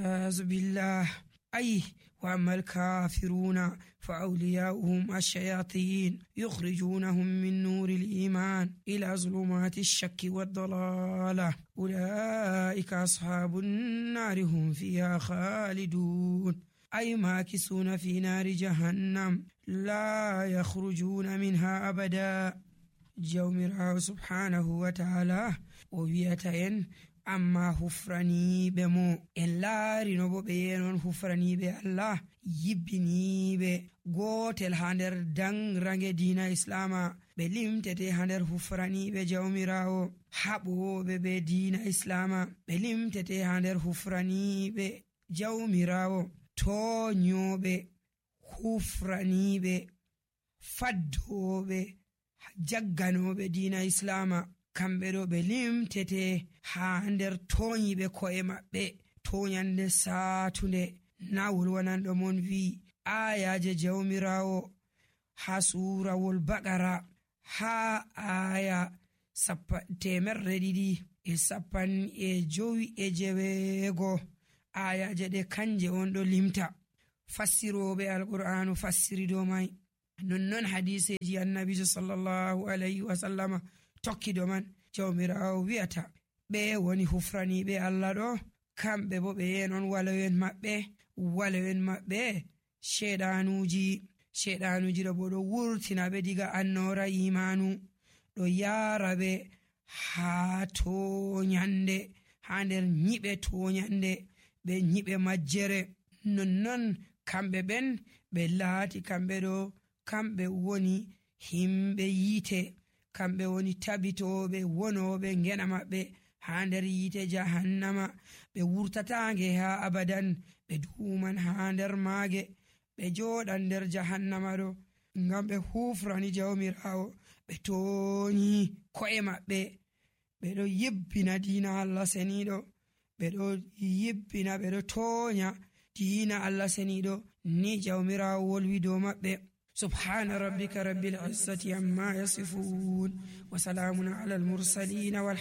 والعياذ بالله. وأما الكافرون فأولياؤهم الشياطين يخرجونهم من نور الإيمان إلى ظلمات الشك والضلالة أولئك أصحاب النار هم فيها خالدون ماكثون في نار جهنم لا يخرجون منها أبدا. جومراو سبحانه وتعالى وويتين amma hufraniiɓe mo en laarino bo ɓe yenon hufraniiɓe Allah yibbiniiɓe gootel haa nder danrange diina islama ɓe limtete haa nder hufraniiɓe jawmiraawo haɓooɓe be diina islama ɓe limtete haa nder hufraniiɓe jawmiraawo tooñooɓe hufraniiɓe faddooɓe jagganooɓe diina islama kamɓe ɗo ɓe limtete haa nder tooñiɓe ko'e maɓɓe toñande saatunde. na wolwananɗo mon wi'i ayaje jawmiraawo haa suurawol Baqara haa aya 250 ayaje ɗe kanje on ɗo limta. fassiroɓe alqur'anu fassiri dow mai, nonnon hadiseji annabijo sallallahu alayhi wa sallama tokki do man. jawmiraawo wi'ata ɓe woni hufraniɓe Allah ɗo, kamɓe bo ɓe yenon walowen maɓɓe sheɗanuji ɗo bo ɗo wurtina ɓe diga annora imanu ɗo yara ɓe haa toñande, haa nder nyiɓe toñande ɓe nyiɓe majjere. nonnon kamɓe ɓen ɓe laati kamɓe woni himɓe yiite, kamɓe woni tabitoɓe wonoɓe ngena maɓɓe haa nder yiite jahannama. ɓe wurtatange haa abadan, ɓe duuman haa nder maage, ɓe jooɗan nder jahannama ɗo ngam ɓe hufrani jawmiraawo, ɓe tooñi ko'e maɓɓe, ɓe ɗo yibbina diina Allah seniɗo, ɓe ɗo yibbina, ɓe ɗo tooña diina Allah seniɗo ni jawmiraawo wolwi dow maɓɓe. subhana rabbika rabbil izzati amma yasifun wa salamun ala al mursalin